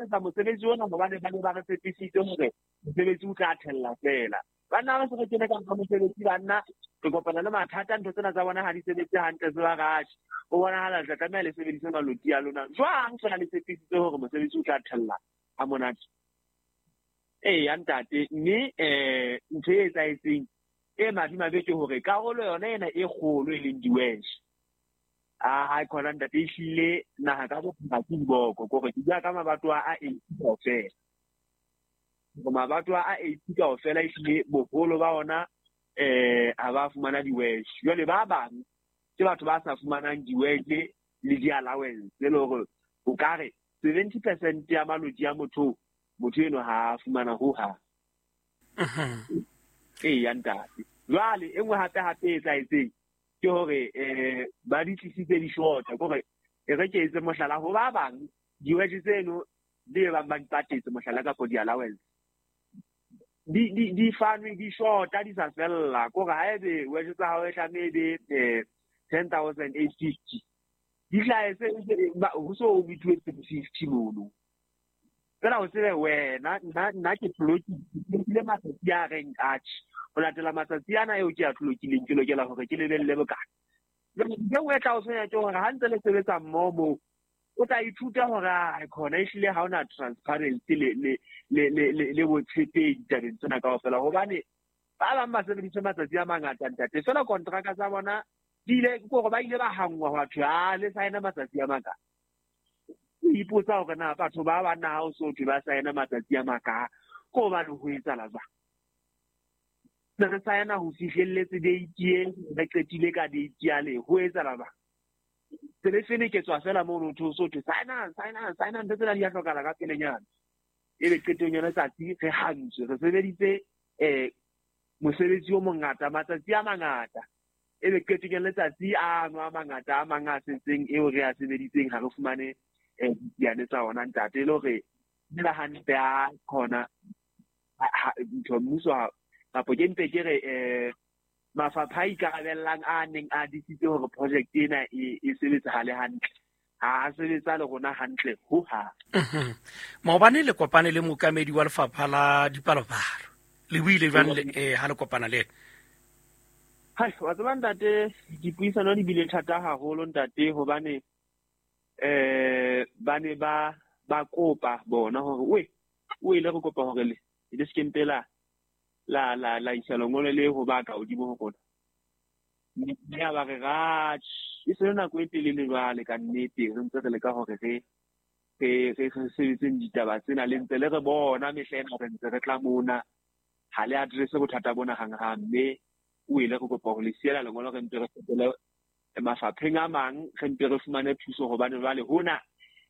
etsa mosebetsi ona hobane ba ne ba re tshepisitse hore mosebetsi o tla thella fela. Banna ba se re kene ka nka mosebetsi, banna re kopana le mathata, ntho tsena tsa bona ha di sebetse hantle, se ba ratjhe. O bonahala le tla tlameha le sebedise maloti a lona jwang fela le tshepisitse hore mosebetsi o tla thella ha monate. Eya ntate, mme ntho e etsahetseng e madimabe ke hore karolo yona ena e kgolo e leng diwesh, a khona ntate e hlile naha ka bophara ke diboko, kore ke bua ka mabatowa a 80 kaofela. Hore mabatowa a 80 kaofela ehlile boholo ba ona ha ba fumana diwesh. Jwale ba bang ke batho ba sa fumanang diwesh le di-allowance, e le hore o ka re 70% ya maloti a motho eno ha a fumana ho hang. Eya ntate. Jwale e nngwe hape hape e etsahetseng ke hore ba di tlisitse di-short, kore e re ke etse mohlala ho ba bang diwage tseno di bang ba di patetse mohlala kapo di-allowance di fanwe di shorta di sa fella, kore ha ebe wage tsa hao e tlameha e be 10,850 di hlahetse ho so o bithuwe 750 mono. Fela o tsebe wena nna ke tlolokile matsatsi a reng atjhe, ho latela matsatsi ana eo ke a tlolokileng ke lokela hore ke lebelle bokae. Jwale ntho e nngwe e tla o tshwenya ke hore ha ntse le sebetsa mmoho moo, o tla ithuta hore a khona ehlile ha hona transparency le botshepehi ditabeng tsena kaofela, hobane ba bang ba sebeditse matsatsi a mangata ntate, fela kontraka tsa bona di ile kore ba ile ba hangwa hwa thwe a le saena matsatsi a makae. O ipotsa hore na batho ba banna ha o so thwe ba saena matsatsi a makae, ke hobane ho etsahala jwang. Ne re saena ho fihlelletse date e re qetile ka date yale, ho etsahala jwang. Se le feneketswa fela mono ho so thwe saenang saenang saenang, ntho tsena di a hlokahala ka pelenyana. Ebe qetong ya letsatsi re hantswe, re sebeditse mosebetsi o mongata matsatsi a mangata, ebe qetong ya letsatsi ano a mangata a mang a setseng eo re a sebeditseng ha re fumane diane tsa ona ntate, e le hore le hantle a khona ntho mmuso kapo ke mpe ke re mafapha a ikarabellang a neng a disitse hore project ena e sebetsahale hantle, ha a sebetsa le rona hantle ho hang. Maobane le kopane le mookamedi wa lefapha la dipalopalo, le buile jwang le ha le kopana le ena? Hai, wa tseba ntate, dipuisano di bile thata haholo ntate, hobane ba ne ba kopa bona hore we o ile re kopa hore le le se ke mpe la isa lengolo le ho ba ka hodimo ho rona. Mme ya ba re ratjhe, e se le nako e telele jwale ka nnete re ntse re leka hore re sebetseng ditaba tsena, le ntse le re bona mehla ena re ntse re tla mona, ha le address bothata bona hanghang, mme o ile re kopa hore le siela lengolo re mpe re fetele mafapheng a mang, re mpe re fumane thuso, hobane jwale hona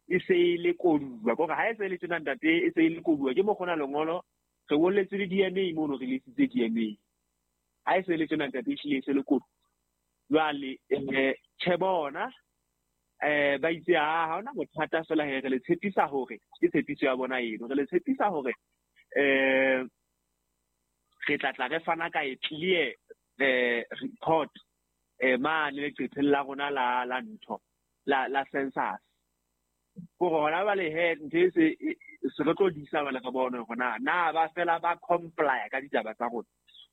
e se e le koduwa, kore ha e se e le tjena ntate, e se e le koduwa ke mokgona lengolo re ngolletse le DNA mono, re lesitse DNA, ha e se e le tjena ntate ehlile e se le koduwa. Jwale tjhe bona ba itse ha hona bothata fela he, re le tshepisa hore ke tshepiso ya bona eno, re le tshepisa hore re tla re fana ka e clear report mane leqepheng la rona la ntho la census, kore hona jwale he ntho e se re tlo disa jwale re bone hore na ba fela ba comply ka ditaba tsa rona,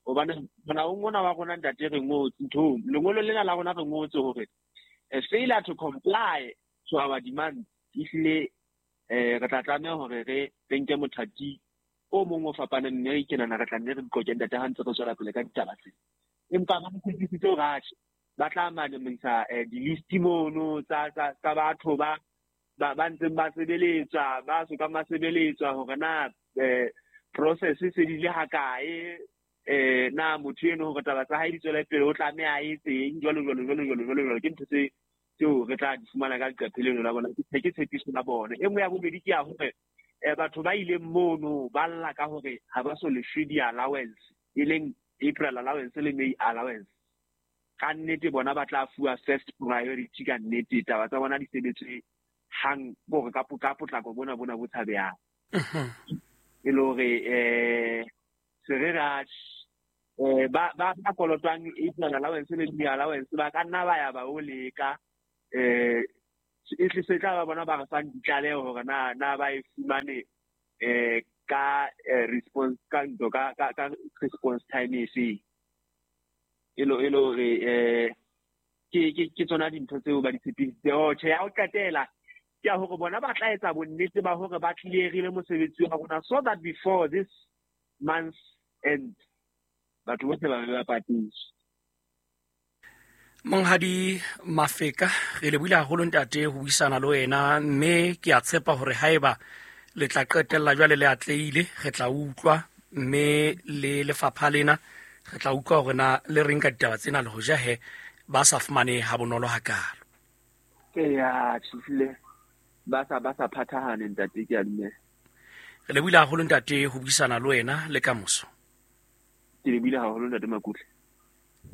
hobane molaong ona wa rona ntate re ngotse nthong lengolo lena la rona re ngotse hore failure to comply to our demands ehlile re tla tlameha hore re nke mothati o mong o fapaneng, mme ke nahana re tla nne re qoqe ntate ha ntse re tswela pele ka ditaba tsena. Empa ba tshepisitse hore atjhe ba tla manamisa di-list mono tsa batho ba ntseng ba sebeletswa, ba sokang ba sebeletswa, hore na process e se di le hakae, na motho eno hore taba tsa hae di tswele pele o tlameha a etseng, jwalo jwalo jwalo jwalo jwalo jwalo. Ke ntho tseo re tla di fumana ka leqephe leno la bona, ke tshepiso la bona. E nngwe ya bobedi ke ya hore batho ba ileng mono ba lla ka hore ha ba so lefwe di-allowance, e leng April allowance le May allowance. Ka nnete bona ba tla fuwa first priority ka nnete, taba tsa bona di sebetswe hang hore ka potlako bona bo tshabehang. E le hore se re ba kolotwang April allowance le May allowance ba ka nna ba ya ba o leka E tle se tla ba bona ba re fang ditlaleho hore na ba e fumane ka response ka ntho ka response time e feng. E le hore ke tsona dintho tseo ba di tshepisitse. Oh, tjhe, ya ho qetela ke ya hore bona ba tla etsa bonnete ba hore ba clearile mosebetsi wa rona so that before this month end batho bohle ba be ba patetswe. Monghadi Mafeka, re lebohile haholo ntate ho buisana le wena, mme ke a tshepa hore haeba le tla qetella jwale le atlehile, re tla utlwa, mme le lefapha lena re tla utlwa hore na le reng ka ditaba tsena, le hoja he ba sa fumane ha bonolo hakalo. Eya, tjhifile ba sa phathahane ntate, ke a dumela. Re lebohile haholo ntate ho buisana le wena le kamoso. Ke lebohile haholo ntate Makutle.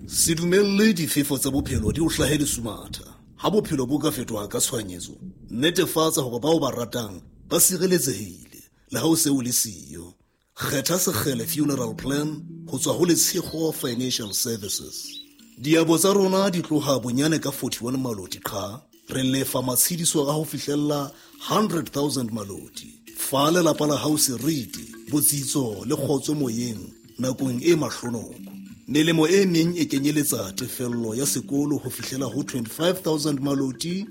Se dumelle difefo tsa bophelo di o hlahe lesumatha. Ha bophelo bo ka fetoha ka tshohanyetso, netefatsa hore bao ba ratang ba sireletsehile le ha o se o le siyo. Kgetha Sekgele Funeral Plan ho tswa ho Letshego Financial Services. Diabo tsa rona di tloha bonyane ka 41 maloti qha. Re lefa matshediso a ho fihlella 100,000 maloti. Fa lelapa la hao seriti, botsitso le kgotso moyeng nakong e mahlonoko. Melemo e meng e kenyeletsa tefello ya sekolo ho fihlela ho 25,000 maloti,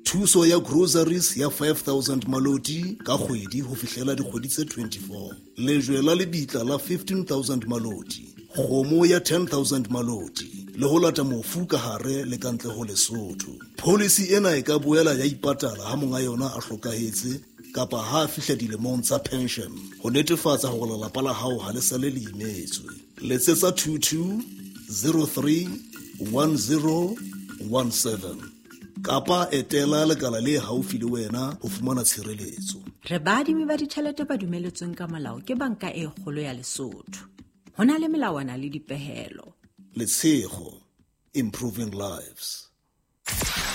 thuso ya groceries ya 5,000 maloti ka kgwedi ho fihlela dikgwedi tse 24, lejwe la lebitla la 15,000 maloti, kgomo ya 10,000 maloti, le ho lata mofu ka hare le ka ntle ho Lesotho. Policy ena e ka boela ya ipatala ha monga yona a hlokahetse kapa ha a fihla dilemong tsa pension, ho netefatsa hore lelapa la hao ha le sale le imetswe. Letsetsa 22 03 10 17 kapa etela lekala le haufi le wena ho fumana tshireletso. Re baadimi ba ditjhelete ba dumeletsweng ka molao ke Banka e Kgolo ya Lesotho. Ho na le melawana le dipehelo. Letshego, improving lives.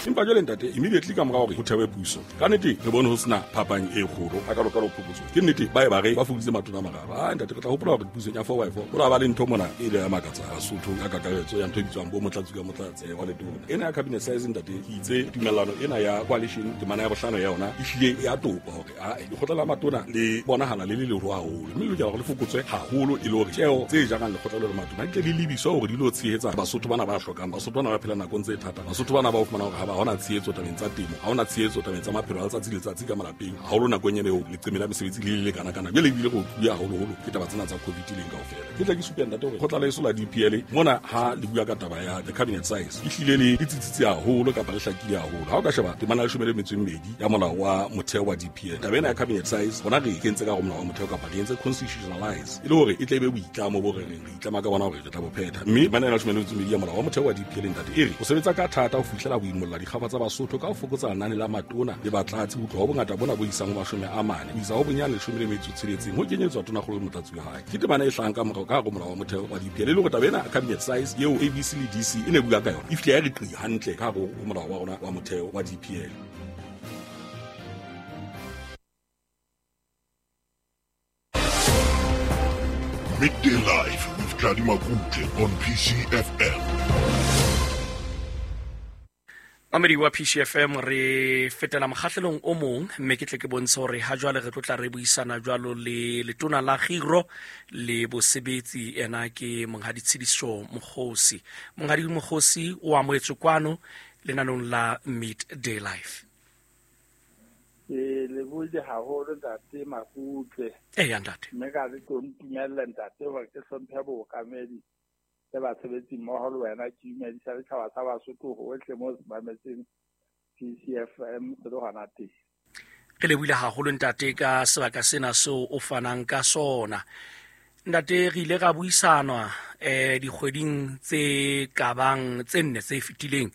Empa jwale ntate, immediately ka mora hore ho thewe puso, ka nnete re bone ho sena phapang e kgolo a kalokalo phokotso. Ke nnete ba e ba re ba fokoditse matona a mararo. A ntate, re tla hopola hore pusong ya 4x4 ho la ba le ntho mona e ile ya makatsa Basotho ka kakaretso ya ntho e bitswang bo motlatsi ka motlatsi wa letona. Ena ya cabinet size ntate, ke itse tumellano ena ya coalition temana ya bohlano ya yona e hlile ya topa hore a lekgotla la matona le bonahala le le leholo haholo, mme le lokela hore le fokotswe haholo e le hore tjeo tse jarang lekgotla le matona di tle di lebiswe hore di lo tshehetsa Basotho bana ba hlokang, Basotho bana ba phelang nakong tse thata, Basotho bana ba o fumana hore ha ba hona tshehetso tabeng tsa temo, ha hona tshehetso tabeng tsa maphelo a letsatsi le letsatsi ka malapeng, haholo nakong ena eo leqeme la mesebetsi le le lekana-kana. Jwale ebile re otluwe haholoholo ke taba tsena tsa COVID leng kaofela. Ke tla ke supe ntate hore kgotla la eso la DPL mona ha le bua ka taba ya the cabinet size e hlile le tsitsitse haholo kapa le hlakile haholo. Ha o ka sheba temana ya 12 ya molao wa motheo wa DPL, taba ena ya cabinet size rona re kentse ka hare molao wa motheo kapa re entse constitutionalize e le hore e tle e be boitlamo bo re reng re itlama ka bona hore re tla bo phetha. Mme temana ya 12 ya molao wa motheo wa DPL ntate e re o sebetsa ka thata ho fihlela ho imolla dikgafa tsa Basotho ka ho fokotsa lenane la matona le batlatsi ho tloha ho bongata bona bo isang ho 40 ho isa ho bonyane 16 ho kenyetswa tonakgolo le motlatsi wa hae. Ke temana e hlahang ka morao ka hare molao wa motheo wa DPL e le hore taba ena cabinet size eo ABC le DC e ne bua ka yona e fihle ya re qi hantle ka hare ho molao wa rona wa motheo wa DPL. Midday Live with Tladi Makutle on PCFM. Mamedi wa PCFM, re fetela mokgahlelong o mong, mme ke tle ke bontshe hore ha jwale re tlo tla re buisana jwalo le letona la Kgiro le Bosebetsi, ena ke Monghadi Tshediso Mokgosi. Monghadi Mokgosi o amohetswe kwano lenanong la Midday Life. Ke lebohile haholo ntate Makutle. Eya ntate. Mme ka re tlo ntumella ntate hore ke hlomphe bookamedi le basebetsi mmoho le wena, ke dumedisa setjhaba sa Basotho hohle moo se mametseng PCFM se le hona teng. Re lebohile haholo ntate ka sebaka sena seo o fanang ka sona. Ntate, re ile ra buisanwa dikgweding tse kabang tse nne tse fetileng,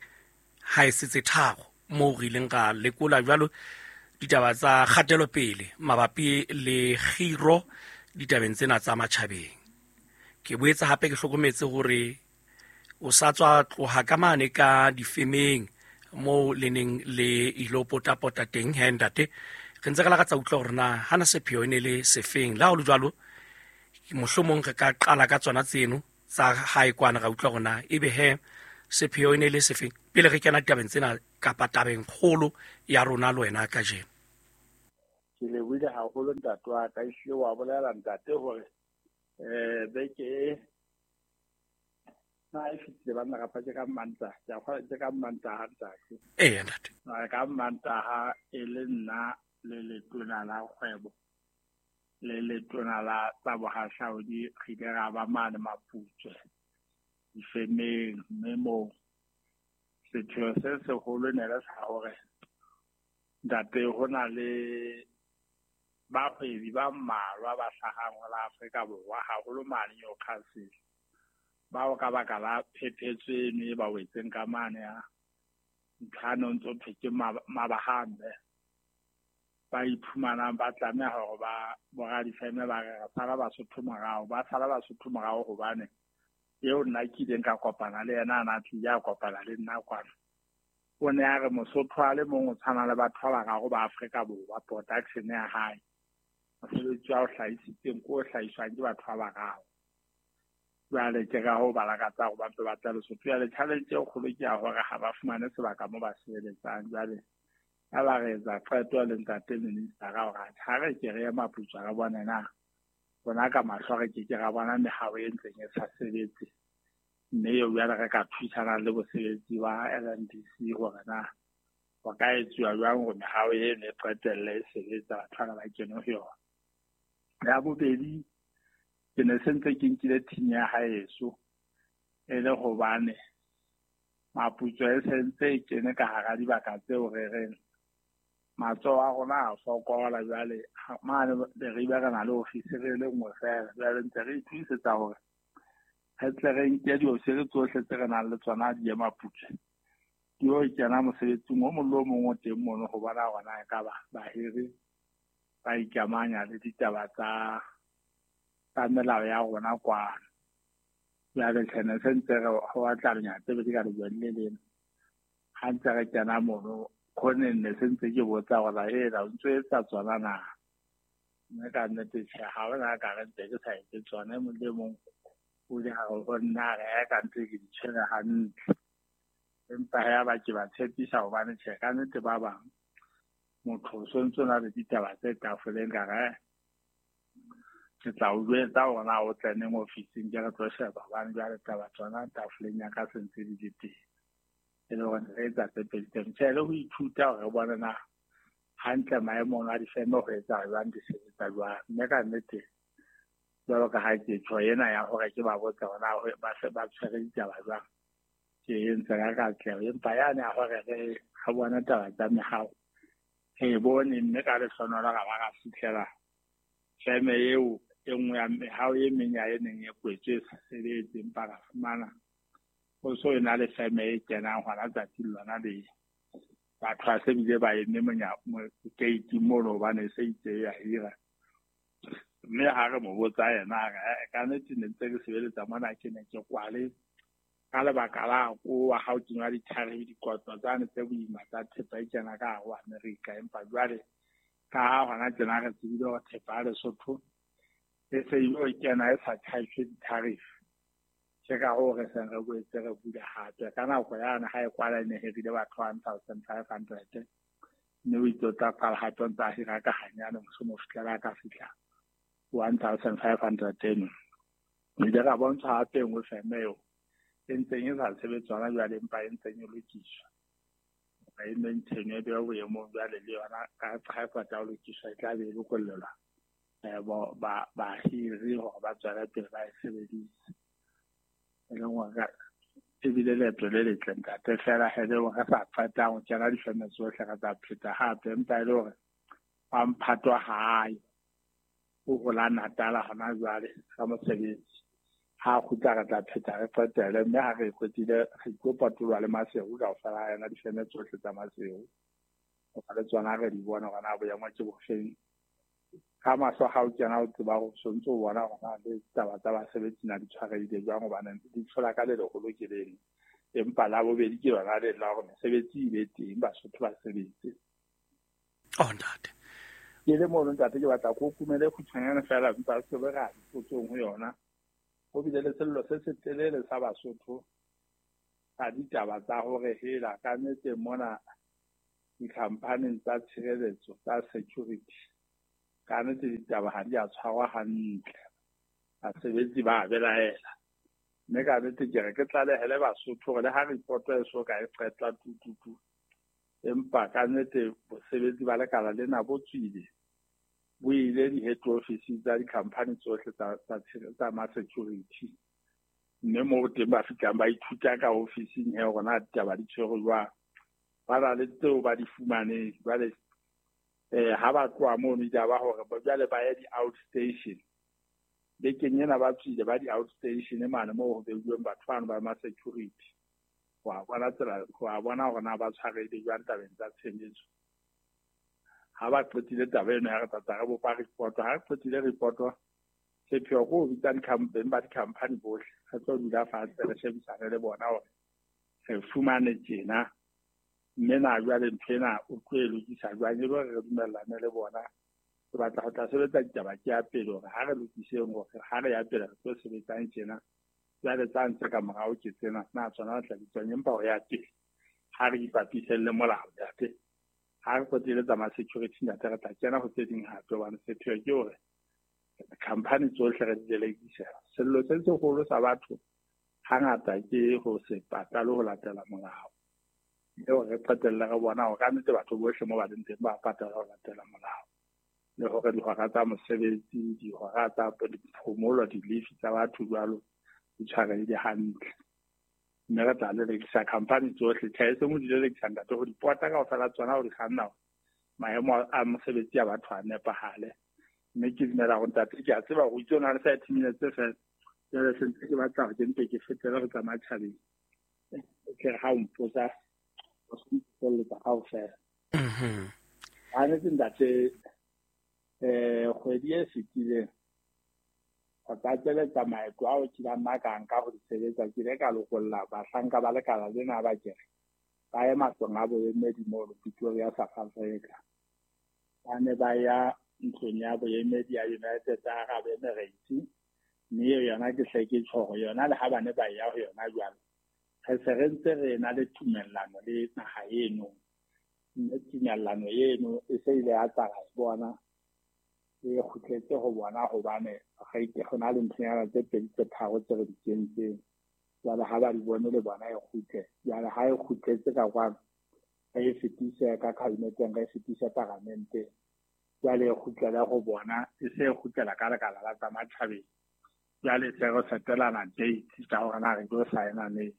ha e se tse tharo, moo re ileng ra lekola jwalo ditaba tsa kgatelopele mabapi le kgiro ditabeng tsena tsa matjhabeng. Ke boetse hape ke hlokometse hore o sa tswa tloha ka mane ka difemeng moo le neng le ilo potapota teng he ntate. Re ntse re lakatsa utlwa hore na hana sepheo e ne le sefeng. Le ha ho le jwalo, mohlomong re ka qala ka tsona tseno tsa hae kwana, ra utlwa hore na ebe he sepheo e ne le sefeng. Pele re kena tabeng tsena kapa tabeng kgolo ya rona le wena kajeno. Ke lebohile haholo ntate wa ka, ehlile wa bolela ntate hore beke e na e fetile banna kapa ke ka Mantaha, ke a kgolwa ke ka Mantaha ntate. Eya ntate. Ka Mantaha e le nna le letona la kgwebo le letona la tsa bohahlaudi re ile ra ba mane Maputswe difemeng, mme moo sepheo se seholo ne le sa hore ntate ho na le bahwebi ba mmalwa ba hlahang ho la Afrika Borwa, haholo mane Newcastle, bao ka baka la phephetso eno e ba wetseng ka mane ya ntho ya no ntso thwe ke mabahambe, ba iphumanang ba tlameha hore ba boradifeme ba re re sala Basotho morao, ba sala Basotho morao hobane eo nna ke ileng ka kopana le yena a na tlile a kopana le nna kwano. O ne a re Mosotho a le mong o tshwana le batho ba bararo ba Afrika Borwa, production ya hae, mosebetsi wa o hlahisitseng ke o hlahiswang ke batho ba bararo. Jwale ke ka hoo ba lakatsa hore ba mpe ba tle Lesotho. Jwale challenge e kgolo ke ya hore ha ba fumane sebaka moo ba sebeletsang. Jwale ha ba re etsa qeto le ntate minister hore ha re ke re ye Maputswe re bone na rona ka mahlo re ke ke ra bona mehao e ntseng e sa sebetse, mme eo jwale re ka thusana le bosebetsi ba LNDC hore na ho ka etsuwa jwang hore mehao eno e qetelle e sebetsa, batho bana ba kene ho yona. Ya bobedi, ke ne se ntse ke nkile team ya haeso e le hobane Maputswe e sentse e kene ka hara dibaka tseo re reng matsoho a rona a fokola. Jwale mane Leribe re na le ofisiri e le nngwe feela, jwale ntse re ithuisetsa hore re tle re nke diofisiri tsohle tse re nang le tsona di ye Maputswe, di yo kena mosebetsing o mong le o mong o teng mono ho bona hore na ekaba bahiri ba ikamanya le ditaba tsa melao ya rona kwano. Jwale tjhe ne se ntse re ho batla lenyatse tse ka lejweng le lena. Ha ntse re kena mono khoneng ne se ntse ke botsa hore ena o ntso etsa tsona na, mme ka nnete tjhe ha hona ka re ntse ke sa etse tsona. E mong le mong o ile a re ho nna re ka ntse ke di tshwere hantle, empa ya ba ke ba tshepisa hobane tjhe ka nnete ba bang motho o sontso na le ditaba tse tafoleng ka re ke tla o jwetsa hore na o tle neng ofising ke re tlo sheba, hobane jwale taba tsona tafoleng ya ka se ntse di le teng. E le hore re etsa tse pedi tseno. Tjhe, le ho ithuta hore re bone na hantle maemong a difeme ho etsa jwang, di sebetsa jwang. Mme ka nnete jwalo ka ha ke tjho ena ya hore ke ba botse hore na ba se ba tshwere ditaba jwang, ke entse ka katleho. Empa yane ya hore re bone taba tsa mehao re bone, mme ka lehlohonolo ra ba ra fihlela feme eo e nngwe ya mehao e meng ya e neng e kwetswe e sa sebetse, empa ra fumana ho so e na le feme e kenang hona tsatsing lona le. Batho ba se bile ba eme gate mono hobane e se itse ya hira. Mme ha re mo botsa yena a re ka nnete ne ntse ke sebeletsa mona ke ne ke kwale ka lebaka la kowa ha o kenywa di-tariff, dikotlo tsane tse boima tsa thepa e kena ka hare ho Amerika. Empa jwale ka ha hona tjena re tsebile hore thepa ya Lesotho e se ilo kena e sa charge di-tariff, ke ka hoo re seng re boetse re bula hape. Ka nako yane ha e kwala e ne hirile batho 1500, mme o itse o tla qala hape o ntse a hira ka hanyane, mohlomong ho fihlela a ka fihla 1500 eno. Re ile ra bontshwa hape e nngwe feme eo e ntseng e sa sebetse hona jwale, empa e ntseng e lokiswa e maintain e bewa boemong jwale le yona ka ha e qeta ho lokiswa e tla be e lokollelwa bahiri hore ba tswele pele ba e sebedise. E leng hore ebile leeto le letle ntate, feela he le hore re sa qetang ho kena difeme tsohle re tla pheta hape, empa e le hore wa mphatwa hae o hola Natala hona jwale ka mosebetsi. Ha kgutla re tla pheta re qetele, mme ha re qetile re tlo patolwa le Maseru kaofela ha yona difeme tsohle tsa Maseru, hoba le tsona re di bone hore na boemo ke bofeng. Ka mahlo ha o kena o tseba hore o sontso o bona hore na le taba tsa basebetsi na di tshwarehile jwang, hobane di tshola ka le leholo ke leno, empa la bobedi ke lona le la hore mesebetsi e be teng, Basotho ba sebetse. Oh ntate, ke le mono ntate, ke batla ko kumele kgutshwanyane feela, empa se be ra dipotsong ho yona. Ho bile le sello se setelele sa Basotho ka ditaba tsa hore hela ka nnete mona dikhamphaneng tsa tshireletso tsa security ka nnete ditaba ha di a tshwarwa hantle, basebetsi ba belaela. Mme ka nnete ke re ke tlalehele Basotho hore le ha report e so ka e qetwa tututu, empa ka nnete bosebetsi ba lekala lena bo tswile, bo ile di-head office tsa di-company tsohle tsa ma-security, mme moo teng ba fihlang ba ithuta ka ofising he hore na ditaba di tshwerwe jwang. Ba na le tseo ba di fumaneng. Jwale ha ba tloha mono ditaba hore jwale ba ye di-outstation. Bekeng ena ba tswile ba di-outstation mane moo ho beuweng batho bano ba ma-security ho a bona tsela, ho a bona hore na ba tshwarehile jwang tabeng tsa tshebetso. Ha ba qetile taba eno ya re tlatla re bopa report. Ha re qetile report, sepheo ke ho bitsa beng ba di-company bohle, re tlo dula fatshe re shebisane le bona hore re fumane tjena, mme na jwale ntho ena o tlo e lokisa jwang, e le hore re dumellane le bona. Ke batla ho tla sebetsa ditaba ke ya pele hore ha re lokiseng hore ha re ya pele re tlo sebetsang tjena, jwale tsa ntse ka morao ke tsena na tsona re tla bitswang, empa ho ya pele ha re ipapiseng le molao ntate. Ha re qetile tsa ma-security ntate, re tla kena ho tse ding hape, hobane sepheo ke hore company tsohle re di lelekisa. Sello se seholo sa batho hangata ke ho se patale ho latela molao, mme hore re qetelle re bona hore ka nnete batho bohle mo ba leng teng ba patala ho latela molao, le hore dihora tsa mosebetsi, dihora tsa phomolo, di-leave tsa batho jwalo di tshwarehile hantle. Mme re tla lelekisa company tsohle. Tjhe, e seng ho di lelekisa ntate, ho di pota kaofela tsona, ho di kganna hore maemo a mosebetsi a batho a nepahale. Mme ke dumela hore ntate, ke a tseba hore o itse o na le 30 minutes fela, jwale se ntse ke batla hore ke mpe ke fetele ho tsa matjhabeng, ke re ha o mpotsa o se mpotselletsa kaofela. Ha nnete ntate, kgwedi e fetileng ho tlatseletsa maeto ao ke ileng nna ka nka ho di sebetsa, ke ile ka lokolla bahlanka ba lekala lena ba kere ba ye matlong a boemedi mono Pretoria, South Africa. Ba ne ba ya ntlong ya boemedi ya United Arab Emirates, mme eo yona ke hle ke tjho hore yona le ha ba ne ba ya ho yona jwalo, re se re ntse re na le tumellano le naha eno, mme tumellano eno e se ile ya tla ra e bona e kgutletse ho bona, hobane re ho na le nthonyana tse pedi tse tharo tse re di kentseng. Jwale ha ba di bone le bona e kgutle. Jwale ha e kgutletse ka kwano, re e fetise ka kabineteng, re e fetise paramenteng, jwale e kgutlele ho bona, e se e kgutlela ka lekala la tsa matjhabeng. Jwale se re setelana date tsa hore na re tlo signa neng.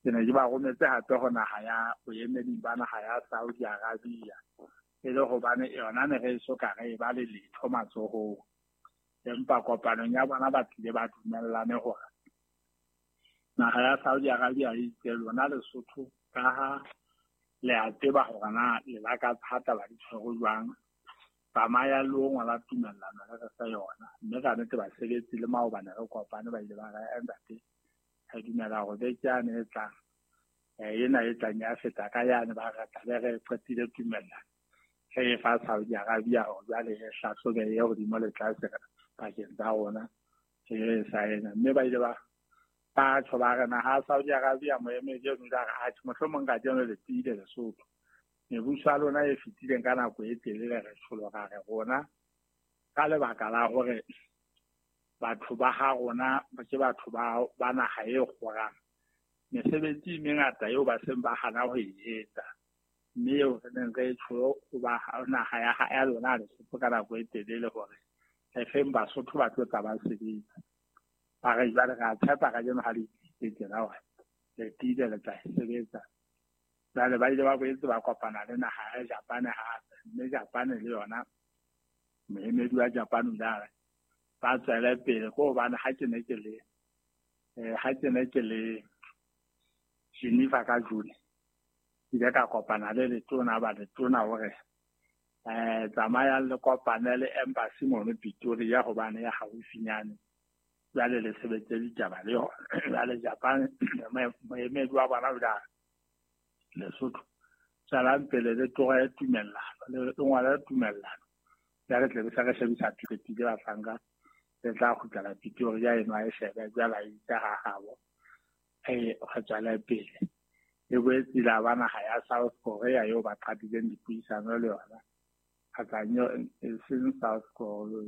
Ke ne ke ba rometse hape ho naha ya boemedi ba naha ya Saudi Arabia, e le hobane yona ne re eso ka re e ba le letho matsohong, empa kopanong ya bona ba tlile ba dumellane hore naha ya Saudi Arabia e itse lona Lesotho, ka ha le a tseba hore na le lakatsa ha taba di tshwerwe jwang, tsamaya le o ngola tumellano le re fe yona. Mme ka nnete basebetsi le maobane re kopane ba ile ba re ntate, re dumela hore beke yane e tlang, ena e tlang ya feta ka yane, ba re tlabe re qetile tumellano, re e fa Saudi Arabia hore jwale e hlahlobe e hodimo le tlase pakeng tsa rona, re e saena. Mme ba ile ba tjho ba re naha Saudi Arabia moemedi eno o ile a re atjhe, mohlomong kajeno le tiile Lesotho, mebuso ya lona e fetileng ka nako e telele re tshologa re rona ka lebaka la hore batho ba ha rona ke batho ba naha e kgorang, mesebetsi e mengata eo ba seng ba hana ho e etsa, mme eo re neng re e tjho ho ba naha ya lona Lesotho ka nako e telele hore re feng Basotho ba tlo tla ba sebetsa. Ba re jwale re a tshepa kajeno ha le itlisitse tjena hore le tiile le tla e sebetsa. Jwale ba ile ba boetse ba kopana le naha ya Japan hape, mme Japan le yona moemedi wa Japan o ile a re ba tswele pele, ke hobane ha ke ne ke le Geneva ka June, ke ile ka kopana le letona ba letona hore tsamayang le kopane le embassy mono Pretoria, hobane ya haufinyane, jwale le sebetse ditaba le yona. Jwale Japan moemedi wa bona o ile a re Lesotho tswelang pele le tlohe tumellano, le ngwale tumellano, jwale tle be se re shebisa qetile bahlanka, le tla kgutlela Pretoria eno a e shebe, jwale a itse ha habo. Re tswele pele. E boetse la ba naha ya South Korea eo ba qadileng dipuisano le yona. Kgotsa e seng South Korea.